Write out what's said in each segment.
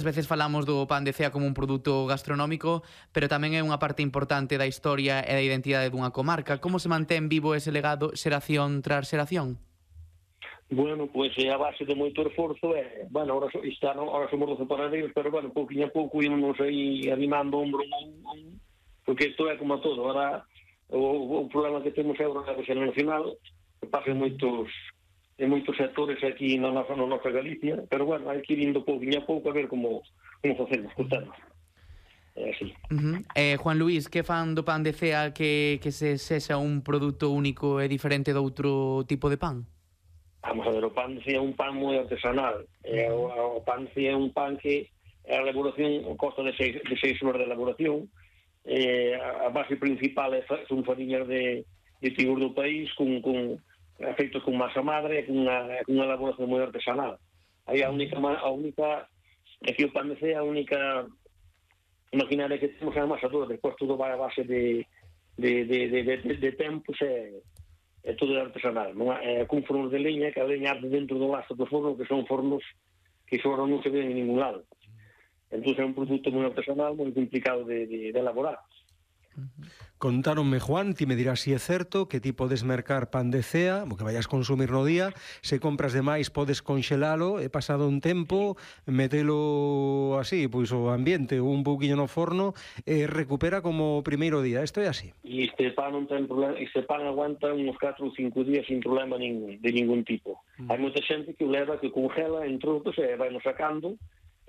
Ás veces falamos do pan de cea como un produto gastronómico, pero tamén é unha parte importante da historia e da identidade dunha comarca. Como se mantén vivo ese legado xeración tras xeración? Bueno, pois é a base de moito esforzo bueno, ahora somos 12 panadeiros, pero bueno, pouquinho a pouco ímonos aí animando ombro porque isto é como a todo. Ahora o problema que temos é o relevo xeracional, que pasa en moitos sectores aquí na nosa Galicia, pero bueno, hai que ir indo pouquinho a pouco a ver como facemos co tema. É así. Juan Luís, que fan do pan de cea que se sexa un produto único e diferente doutro tipo de pan? Vamos a ver, o pan de cea é un pan moi artesanal. O pan de cea é un pan que a elaboración consta de 6 horas de elaboración. A base principal son fariñas de trigos do país feitos con masa madre, con unha elaboración moi artesanal. Aí a única é que o pan de cea, a única maquinaria que temos é a amasadora, despois todo vai a base de tempos é todo artesanal, non é con fornos de leña, que a leña arde dentro do lazo do forno, que son fornos que agora non se ven en ningún lado. Entón é un produto moi artesanal, moi complicado de elaborar. Contáronme, Juan, ti me dirás si é certo que ti podes mercar pan de cea, o que vayas consumir no día, se compras demais podes conxelalo e pasado un tempo metelo así, pois o ambiente ou un pouquiño no forno e recupera como o primeiro día. Isto é así? E este pan non ten problema, este pan aguanta uns 4 ou 5 días sin problema de ningún tipo. Hai moita xente que o leva, que congela en trozos e vai nos sacando.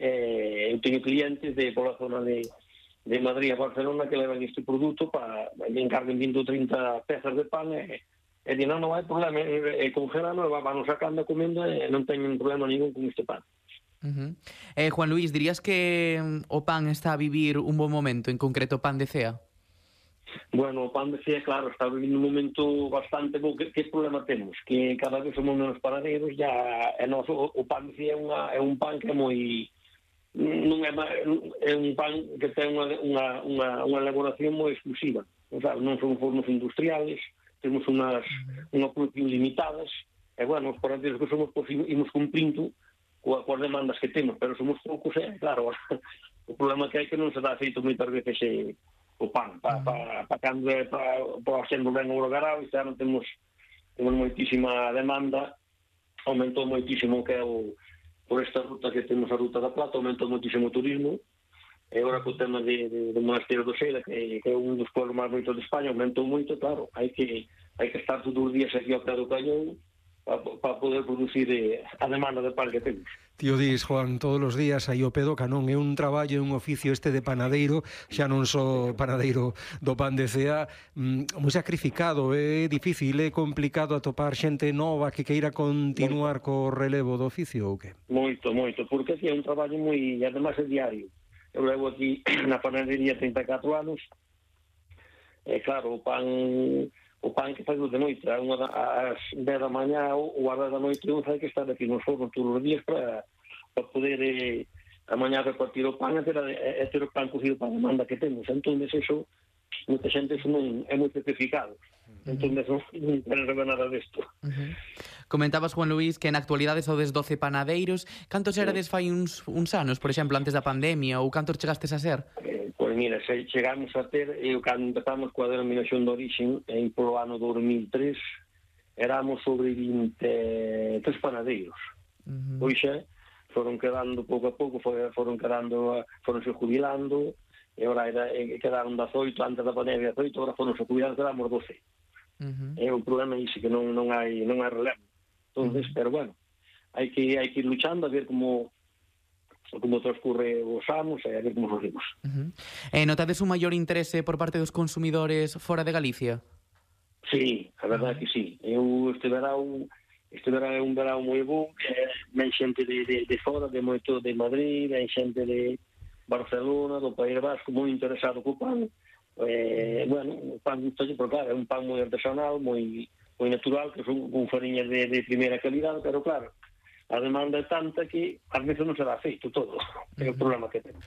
Eu teño clientes pola zona de Madrid a Barcelona que levan este produto me encarguen 20 ou 30 pezas de pan e non hai problema, congelano e van sacando, comendo e non teñen problema ningún con este pan. Juan Luís, dirías que o pan está a vivir un bon momento, en concreto o pan de cea? Bueno, o pan de cea, claro, está vivindo un momento bastante bo. Que problema temos? Que cada vez somos menos panadeiros, o pan de cea é un pan que é moi... non é un pan que ten unha elaboración moi exclusiva, non son fornos industriales, temos unha producción limitadas e bueno, os panadeiros que somos imos cumprindo coas demandas que temos, pero somos poucos claro, o problema que hai que non se dá feito moitas veces o pan para cando é para sendo ben hologarado, e xa non temos moitísima demanda, aumentou moitísimo que é por esta ruta que temos, a Ruta da Plata, aumentou moitísimo o turismo, e agora co tema do Monasterio do Seira, que é un dos pueblos máis bonitos de España, aumentou moito, claro, hai que estar todos os días aquí ao pé do cañón para poder producir a demanda de pan que temos. Tío dis, Juan, todos os días aí ao pé do canón, é un traballo, é un oficio este de panadeiro, xa non só panadeiro do pan de cea, moi sacrificado, é difícil, é complicado atopar xente nova que queira continuar co relevo do oficio ou que? Moito, porque aquí é un traballo moi, además é diario. Eu levo aquí na panadería 34 anos, e claro, o pan que faz de noite, ás 10 da mañá ou ás 10 da noite, hai que estar aquí nos fornos todos os días para poder a mañá repartir o pan e ter o pan cocido para a demanda que temos. Entón, eso, moita xente non é moi sacrificado. Entón, non queren saber nada desto. Comentabas, Juan Luís, que na actualidade sodes 12 panadeiros. Cantos erades fai uns anos, por exemplo, antes da pandemia, ou cantos chegastes a ser? Pois mira, chegamos a ter, cando empezamos coa denominación de origen, polo ano 2003, éramos sobre 23 panadeiros. Pois foron quedando pouco a pouco, foronse jubilando, e agora quedaron 18, antes da pandemia 18, agora foronse jubilando, quedamos 12. O problema é iso, que non hai relevo. Entonces, pero bueno, hai que ir luchando a ver como transcurre os anos e a ver como facemos. Notades un maior interese por parte dos consumidores fora de Galicia? Sí, a verdade que sí. Este verão é un verão moi bon, ven xente de fora, de Madrid, ven xente de Barcelona, do País Vasco, moi interesado co pan. Bueno, o pan gustalle, porque claro, é un pan moi artesanal, moi natural, que son con fariñas de primeira calidad, pero claro, a demanda é tanta que ás veces non será feito todo. É o problema que temos.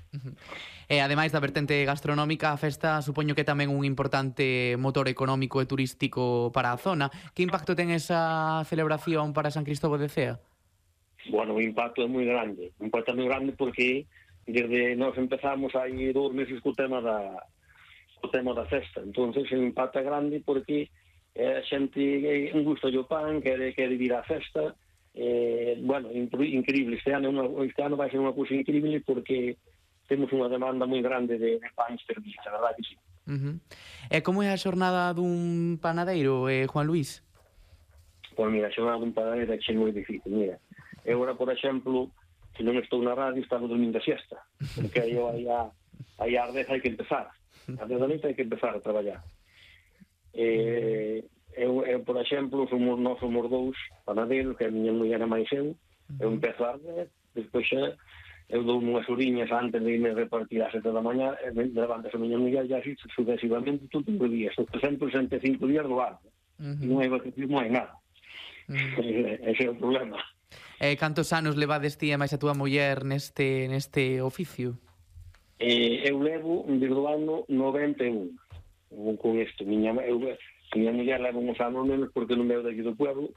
E ademais da vertente gastronómica, a festa supoño que tamén un importante motor económico e turístico para a zona. Que impacto ten esa celebración para San Cristóbal de Cea? Bueno, o impacto é moi grande. O impacto é moi grande porque desde nós empezamos aí 2 meses co tema da festa. Entonces é un impacto grande porque a xente gusta o pan, quere vir á festa. Bueno, increíble. Este ano vai ser unha cousa increíble porque temos unha demanda moi grande de pans servidos, a verdade que sí. E como é a xornada dun panadeiro, Juan Luis? Pois mira, a xornada dun panadeiro é moi difícil. Mira, eu agora, por exemplo, se non estou na radio, estaba dormindo a siesta, porque aí ás 10 hai que empezar. Ás 10 da noite hai que empezar a traballar. Eu, por exemplo, nós somos 2 panadeiros, que a miña muller é máis eu empezo ás 10, despois xa eu dou unhas oriñas antes de irme repartir ás 7 da mañá, levantas a miña muller e así sucesivamente todo o día. Estou 365 días do ano. Non hai nada. Ese é o problema. Cantos anos levades ti e máis a túa muller neste oficio? Eu levo desde o ano 91 con isto. Miña muller leva uns anos menos porque non veo daqui do pueblo.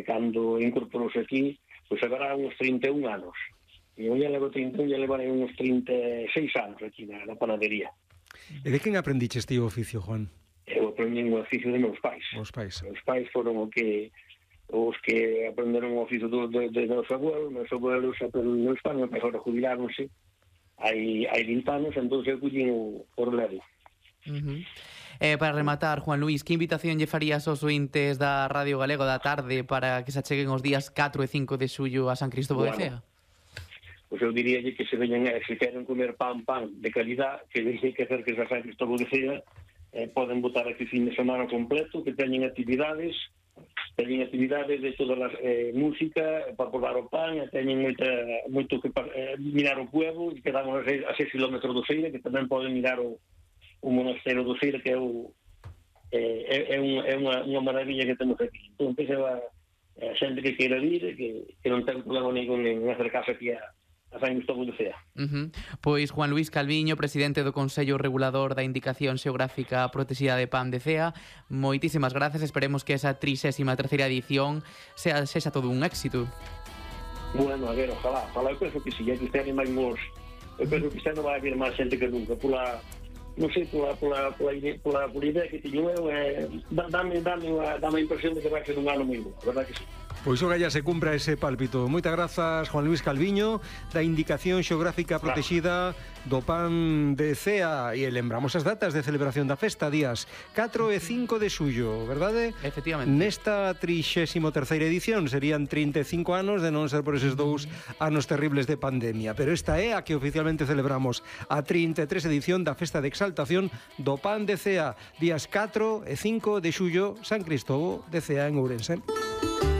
Cando incorporouse aquí, pois agora uns 31 anos. E eu levo 31, e levarei uns 36 anos aquí na panadería. E de quen aprendiches ti o oficio, Juan? Eu aprendi o oficio de meus pais. Os pais foron os que aprenderon o oficio de meus abuelos. Meus abuelos aprenderon en España, mas agora jubiláronse hai 20 anos, entón eu collín o relevo. Para rematar, Juan Luis, que invitación lle farías aos ointes da Radio Galego da tarde para que se acheguen os días 4 e 5 de xullo a San Cristóbal de Cea? Pois eu diríalle que se veñan, se queren comer pan de calidad, que deixen que acerques a San Cristóbal de Cea, poden botar aquí fin de semana completo, que teñen actividades de todas as música para probar o pan, teñen moito que mirar o pueblo, que quedamos a 6 km do Ceira, que tamén poden mirar o monasterio do Ceira, que é unha maravilla que temos aquí. Entón, a xente que queira vir, que non ten problema ningún en acercarse aquí a San Cristóbal de Cea. Pois Juan Luis Calviño, presidente do Consello Regulador da Indicación Xeográfica Protexida de Pan de Cea, moitísimas grazas, esperemos que esa 33ª edición sexa todo un éxito. Bueno, a ver, ojalá, eu penso que si, que este ano eu penso que este ano vai haber máis xente que nunca, non sei, pola idea que teño eu, dame a impresión de que vai ser un ano moi bo, a verdade que sí. Pois o galla se cumpra ese pálpito. Moitas grazas, Juan Luis Calviño, da Indicación Xeográfica Protexida do Pan de Cea. E lembramos as datas de celebración da festa, días 4 e 5 de xullo, verdade? Efectivamente. Nesta 33ª edición serían 35 anos, de non ser por eses 2 anos terribles de pandemia. Pero esta é a que oficialmente celebramos, a 33 edición da festa de exaltación do Pan de Cea, días 4 e 5 de xullo, San Cristóbal de Cea en Ourense.